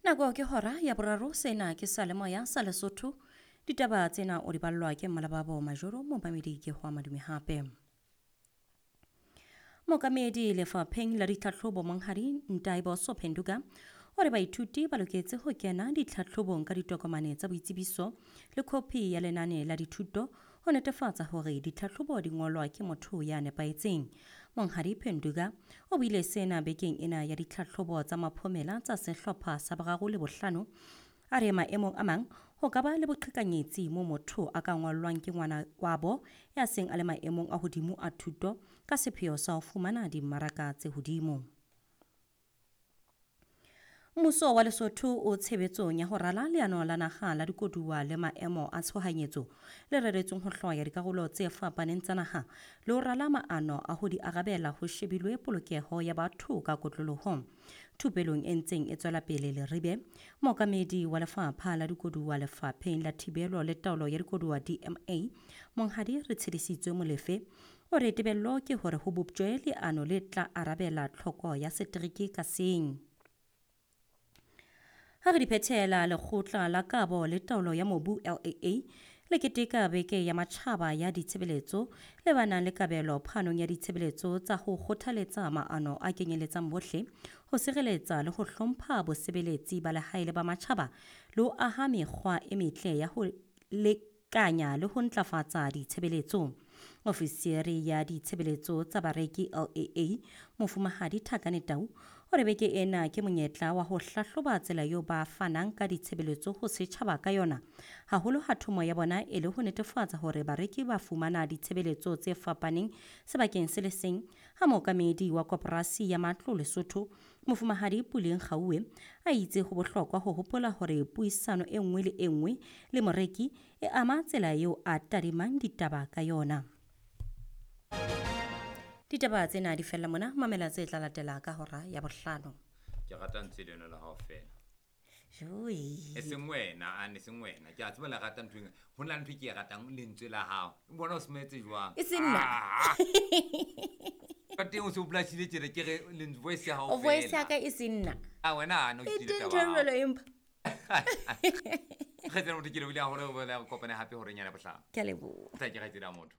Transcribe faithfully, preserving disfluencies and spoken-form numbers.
Nako ke hora ya boraro, sena ke Salemoya sa Lesotho. Ditaba tsena o di ballwa ke Mmalababo Majoro, momamedi ke ho madume hape. Mookamedi lefapheng la ditlhatlhobo Monghadi Ntaiboso Phenduka o re baithuti ba loketse ho kena ditlhatlhobong ka ditokomane tsa boitsebiso le khopi ya lenane la dithuto ho netefatsa hore ditlhatlhobo di ngolwa ke motho ya nepahetseng. Monghadi Phenduka o buile sena bekeng ena ya ditlhatlhobo tsa maphomela tsa sehlopha sa boraro le bohlano. A re maemong a mang ho ka ba le boqhekanyetsi mo motho a ka ngwallwang ke ngwana wabo ya seng a le maemong a hodimo a thuto ka sepheo sa ho fumana dimmaraka tse hodimo. Mmuso wa Lesotho o tshebetsong ya ho rala leano la naha la dikoduwa le maemo a tshohanyetso le reretsweng ho hloya dikarolo tse fapaneng tsa naha le ho rala maano a ho di arabela ho shebilwe polokeho ya batho ka kotloloho. Thupelong e ntseng e tswela pele Leribe, mookamedi wa lefapha la dikoduwa lefapheng la thibelo le taolo ya dikoduwa D M A, Monghadi Retshedisitswe Molefe, o re tebello ke hore ho boptjwe leano le tla arabela tlhoko ya setereke ka seng. Ha re di phethela, lekgotla la kabo le taolo ya mobu L A A le keteka beke ya matjhaba ya ditshebeletso le ba nang le kabelo phanong ya ditshebeletso tsa ho kgothaletsa maano a kenyeletsang bohle, ho sireletsa le ho hlompha bosebeletsi ba lehae le ba matjhaba le ho aha mekgwa e metle ya ho lekanya le ho ntlafatsa ditshebeletso. Ofisiri ya ditshebeletso tsa bareki L A A, Mofumahadi Thakane Tau, o re beke ena ke monyetla wa ho hlahloba tsela eo ba fanang ka ditshebeletso ho setjhaba ka yona, haholo ha thomo ya bona e le ho netefatsa hore bareki ba fumana ditshebeletso tse fapaneng sebakeng se le seng. Ha mookamedi wa koporasi ya matlo Lesotho, Mofumahadi Puleng Kgauwe, a itse ho bohlokwa ho hopola hore puisano e nngwe le e nngwe le moreki e ama tsela eo a tadimang ditaba ka yona. Ditaba tsena di fella mona, mamela tse tla latela ka hora ya bohlano. Ke rata ntse leno la hao fela. Joi. E seng wena, ane seng wena. Ke a tseba le rata ntho eng. Ho na le ntho e ke e ratang lentswe la hao. O bona o smetse jwang? E seng nna. Ka teng o se o blashile tjena ke re lentswe voice ya hao O voice fela. ya ka e seng nna. Ah, wena ano E ke teng taba. ntho e jwalo empa. Kgaitsedi motho ke lebohile haholo ho bona kopane hape horeng ya bohlano. Ke a leboha. Tla ke kgaitsedi ya motho.